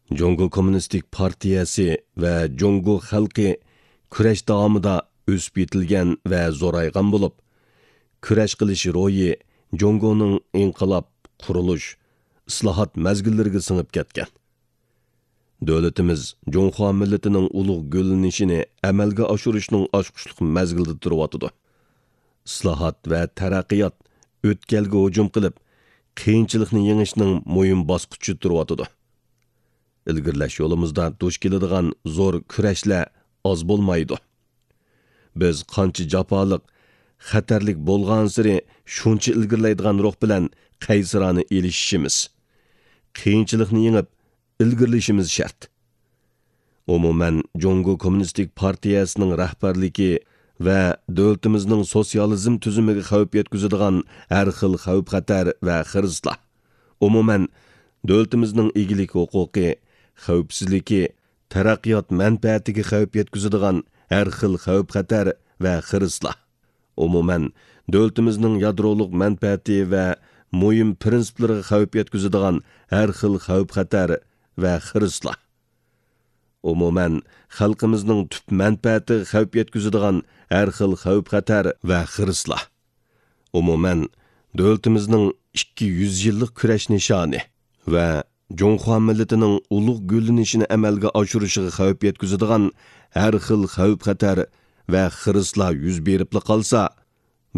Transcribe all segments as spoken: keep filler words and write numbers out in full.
جۇڭگو كوممۇنىستىك پارتىيەسى ۋە جۇڭگو خەلقى كۈرەش داۋامىدا ئۆسۈپ يېتىلگەن ۋە زورايغان بولۇپ، كۈرەش قىلىش روھى جۇڭگونىڭ ئىنقىلاب، قۇرۇلۇش، ئىسلاھات مەزگىللىرىگە سىڭىپ كەتكەن. دۆلىتىمىز جۇڭخۇا مىللىتىنىڭ ئۇلۇغ گۈللىنىشىنى ئەمەلگە ئاشۇرۇشنىڭ ئاچقۇچلۇق مەزگىلىدە تۇرۇۋاتىدۇ. ئىسلاھات ۋە تەرەققىيات ئۆتكەلگە ھۇجۇم قىلىپ، قىيىنچىلىقنى يېڭىشنىڭ مۇھىم باسقۇچىدا تۇرۇۋاتىدۇ. ئىلگىرىلەش يولىمىزدا دۇچ كېلىدىغان زور كۈرەشلەر ئاز بولمايدۇ. بىز قانچە جاپالىق، خەتەرلىك بولغانسېرى شۇنچە ئىلگىرىلەيدىغان روھ بىلەن قەيسىرانە ئېلىشىشىمىز، قىيىنچىلىقنى يېڭىپ، ئىلگىرىلىشىمىز شەرت. ئومۇمەن، جۇڭگو كوممۇنىستىك پارتىيەسىنىڭ رەھبەرلىكى ۋە دۆلىتىمىزنىڭ سوتسىيالىزم تۈزۈمىگە خەۋپ يەتكۈزىدىغان ھەر خىل خەۋپ-خەتەر ۋە خىرىسلار، ئومۇمەن، دۆلىتىمىزنىڭ ئىگىلىك ھوقۇقى، خەۋپسىزلىكى، تەرەققىيات مەنپەئەتىگە خەۋپ يەتكۈزىدىغان ھەر خىل خەۋپ-خەتەر ۋە خىرىسلار، ئومۇمەن، دۆلىتىمىزنىڭ يادرولۇق مەنپەئەتى ۋە مۇھىم پىرىنسىپلىرىغا خەۋپ يەتكۈزىدىغان ھەر خىل خەۋپ-خەتەر ۋە خىرىسلار، ئومۇمەن، خەلقىمىزنىڭ تۈپ مەنپەئەتىگە خەۋپ يەتكۈزىدىغان ھەر خىل خەۋپ-خەتەر ۋە خىرىسلار، ئومۇمەن، دۆلىتىمىزنىڭ ئىككى يۈز يىللىق كۈرەش نىشانى ۋە جۇڭخۇا مىللىتىنىڭ ئۇلۇغ گۈللىنىشىنى ئەمەلگە ئاشۇرۇشىغا خەۋپ يەتكۈزىدىغان ھەر خىل خەۋپ-خەتەر ۋە خىرىسلار يۈز بېرىپلا قالسا،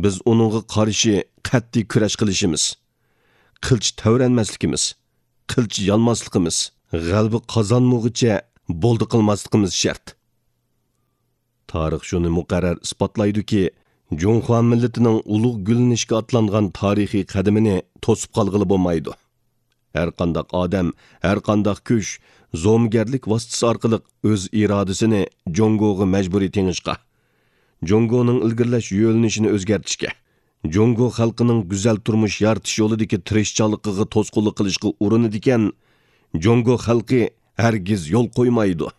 بىز ئۇنىڭغا قارشى قەتئىي كۈرەش قىلىشىمىز، قىلچە تەۋرەنمەسلىكىمىز، قىلچە يانماسلىقىمىز، غەلىبە قازانمىغۇچە بولدى قىلماسلىقىمىز شەرت. تارىخ شۇنى مۇقەررەر ئىسپاتلايدۇكى، جۇڭخۇا مىللىتىنىڭ ئۇلۇغ گۈللىنىشكە ئاتلانغان تارىخىي قەدىمىنى توسۇپ قالغىلى بولمايدۇ. ھەرقانداق ئادەم، ھەرقانداق كۈچ زومىگەرلىك ۋاسىتىسى ئارقىلىق ئۆز ئىرادىسىنى جۇڭگوغا مەجبۇرىي تېڭىشقا، جۇڭگونىڭ ئىلگىرىلەش يۆنىلىشىنى ئۆزگەرتىشكە، جۇڭگو خەلقىنىڭ گۈزەل تۇرمۇش يارىتىش يولىدىكى تىرىشچانلىقىغا توسقۇنلۇق قىلىشقا ئۇرۇنىدىكەن، جۇڭگو خەلقى ھەرگىز يول قويمايدۇ.